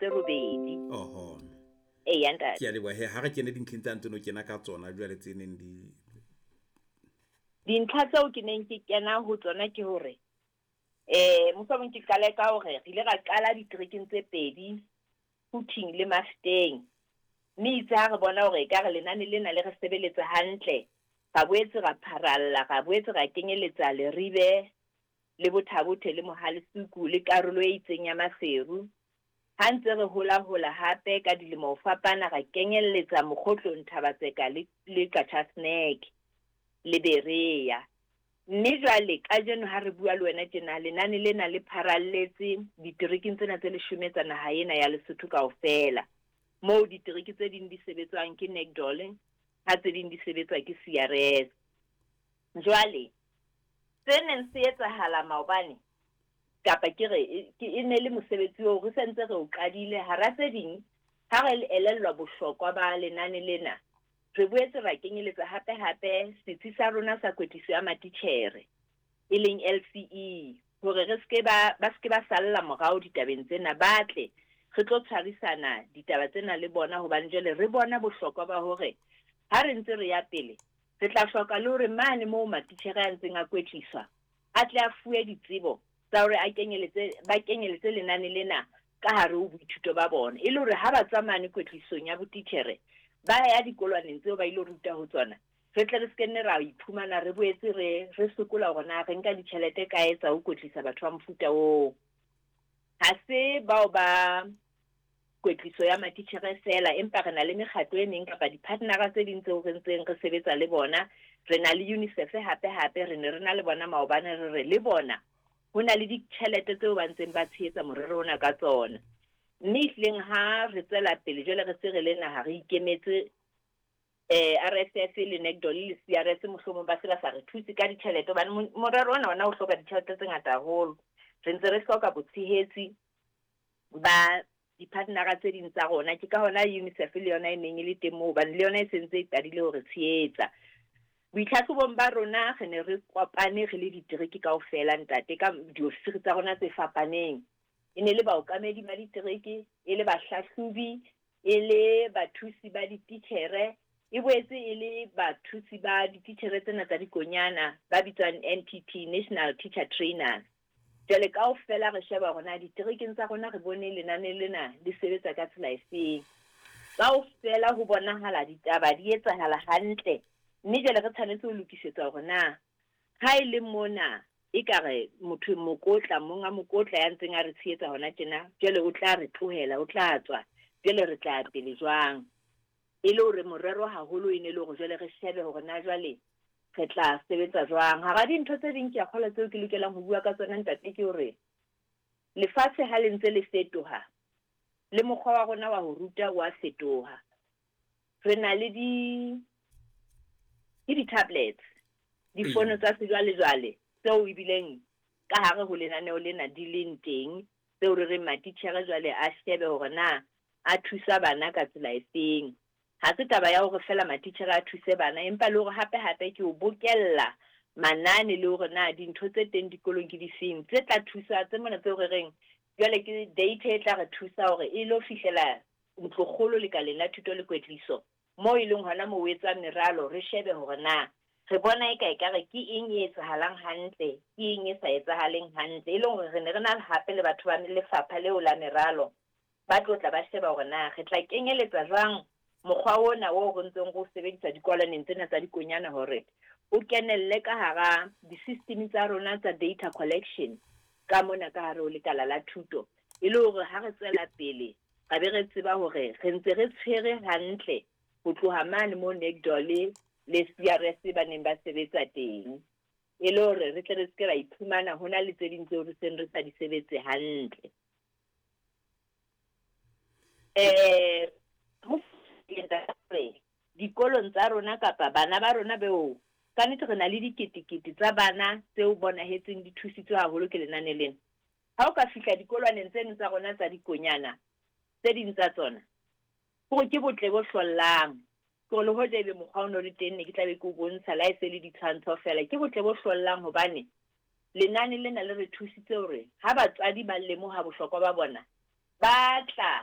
tse robedi. Oho. Eya ntate. Ke a leboha he, ha re kene dintlheng tsa ntse no kena ka tsona jwale tse neng di. Dintlha tseo ke neng ke kena ho tsona ke hore eh mohlomong ke qale ka hore re ile ra qala diterekeng tse pedi, Quthing le Mafeteng. Mme itse ha re bona hore ekare lenane lena le re sebeletsa hantle, ra boetse ra pharalla, ra boetse ra kenyeletsa Leribe le Botha-Bothe le Mohalesuku le karolo e itseng ya Maseru. Ha ntse re hola-hola hape ka dilemo ho fapana ra kenyelletsa Mokgotlong, Thaba-Tseka le le Qacha's Nek le Berea. Mme jwale kajeno ha re bua le wena tjena lenane lena le pharalletse diterekeng tsena tse leshome tsa naha ena ya Lesotho kaofela, moo ditereke tse ding di sebetswang ke NACDOL ha tse ding di sebetswa ke CRS. Jwale se neng se etsahala maobane kapa ke re ke e ne le mosebetsi oo re sentse re o qadile hara tse ding ha re elellwa bohlokwa ba lenane lena, re boetse ra kenyeletsa hape hape setsi sa rona sa kwetliso ya matitjhere e leng LCE hore re seke ba ba seke ba salla morao ditabeng tsena, ba tle re tlo tshwarisana ditaba tsena le bona hobane jwale re bona bohlokwa ba hore ha re ntse re ya pele re tla hloka le hore mane moo matitjhere a ntseng a kwetliswa a tle a fuwe ditsebo tsa hore a kenyeletse ba kenyeletse lenane lena ka hare ho boithuto ba bona, e le hore ha ba tswa mane kwetlisong ya botitjhere ba ya dikolwaneng tseo ba ilo ruta ho tsona, re tle re se ke nne ra iphumana re boetse re re sokola hore na re nka ditjhelete kae tsa ho kwetlisa batho ba mofuta oo. Ha se bao ba kwetliso ya matitjhere feela, empa re na le mekgatlo e meng kapa di-partner-a tse ding tseo re ntseng re sebetsa le bona. Re na le UNICEF hape hape, re ne re na le bona maobane, re re le bona ho na le ditjhelete tseo ba ntseng ba tshehetsa morero ona ka tsona. Mme ehlileng ha re tswela pele jwale re se re le naha re ikemetse, RSF le NACDOL le CRS mohlomong ba se ba sa re thuse ka ditjhelete hobane morero ona ona o hloka ditjhelete tse ngata haholo. Re ntse re hloka botshehetsi ba di-partner-a tse ding tsa rona. Ke ka hona UNICEF le yona e neng e le teng moo hobane le yona e sentse e qadile ho re tshehetsa. Boitlhahlobong ba rona re ne re kopane re le ditereke kaofela ntate ka diofisiri tsa rona tse fapaneng. E ne le baokamedi ba ditereke, e le bahlahlobi, e le bathusi ba dititjhere, e boetse e le bathusi ba dititjhere tsena tsa dikonyana ba bitswang NTT, National Teacher Trainers. Jwale kaofela re sheba hore na diterekeng tsa rona re bone lenane lena le sebetsa ka tsela efeng. Kaofela ho bonahala ditaba di etsahala hantle, mme jwale re tshwanetse ho lokisetsa hore na ha e le mona ekare motho mokotla, monga mokotla ya ntseng a re tshehetsa hona tjena, jwale o tla re tlohela, o tla tswa, jwale re tla ya pele jwang? E le hore morero haholo e ne le hore jwale re shebe hore na jwale re tla sebetsa jwang. Hara dintho tse ding ke a kgolwa tseo ke lokelang ho bua ka tsona ntate ke hore lefatshe ha le ntse le fetoha, le mokgwa wa rona wa ho ruta o a fetoha. Re na le di ke di-tablets, difono tsa sejwalejwale tseo ebileng ka hare ho lenaneo lena di leng teng, tseo re reng matitjhere jwale a shebe hore na a thusa bana ka tsela efeng. Ha se taba ya hore feela matitjhere a thuse bana, empa le hore hape hape ke ho bokella manane le hore na dintho tse teng dikolong ke difeng tse tla thusa tse mona tseo re reng jwale ke data e tla re thusa hore e lo fihlela ntlokgolo lekaleng la thuto le kwetliso, moo e leng hona moo ho etswang meralo, re shebe hore na re bona eka ekare ke eng e etsahalang hantle, ke eng e sa etsahaleng hantle. E leng hore re ne re na hape le batho ba lefapha leo la meralo ba tlo tla ba sheba hore na re tla kenyeletsa jwang mokgwa ona oo re ntseng re o sebedisa dikolwaneng tsena tsa dikonyana hore o kenelle ka hara di-system tsa rona tsa data collection ka mona ka hare ho lekala la thuto, e le hore ha re tswela pele ra be re tseba hore re ntse re tshwere hantle ho tloha mane moo NACDOL le CRS ba neng ba sebetsa teng, e le hore re tle re seke ra iphumana ho na le tse ding tseo re seng re sa di sebetse hantle. Ho dikolong tsa rona kapa bana ba rona beo ka nnete re na le diketekete tsa bana tseo bonahetseng di thusitswe haholo ke lenane lena. Ha o ka fihla dikolwaneng tseno tsa rona tsa dikonyana, tse ding tsa tsona, hore ke botle bo hlollang. Ke hore le hoja ebe mokgwa o no le teng ne ke tla be ke o bontsha le ha e se le ditshwantsho feela. Ke botle bo hlollang hobane lenane lena le re thusitse hore ha batswadi ba lemoha bohlokwa ba bona, ba tla.